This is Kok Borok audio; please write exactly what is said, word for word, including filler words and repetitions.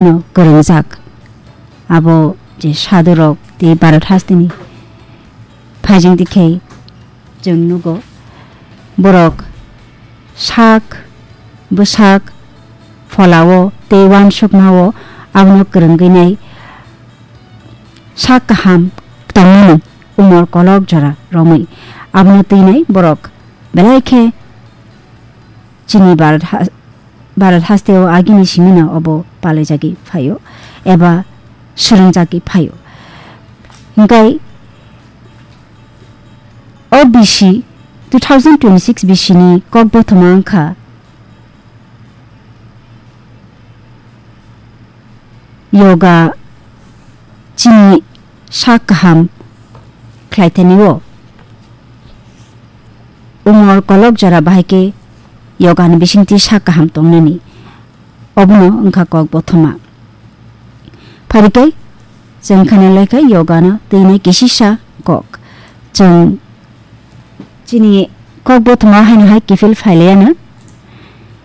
no kwrwngjak. Abo je sadhurok tei Bharat hasteni phaijwng tikhe chwng nugo, borok sak bwsak pholao tei uansukmao abono kwrwngwi nai sak kaham tongmani umor kolok jora romwi abono twinai borok belai khe chini Bharat ha-, Bharat hasteo agini simino obo palaijagwi phaio eba swrwngjagwi phaio. Hinkhe o B C, two thousand twenty-six B C ni kokbothoma wngkha yoga chini sak kaham khlaithani o. Umor kolok jora bahai khe yoga ni bisingtwi sak kaham tongnani. Obono wngkha kokbothoma. Pharikhe chwng khana laikha yoga no twinai kisisa kok. Chwng chini kokbothoma haino hai kiphil phailaiya na.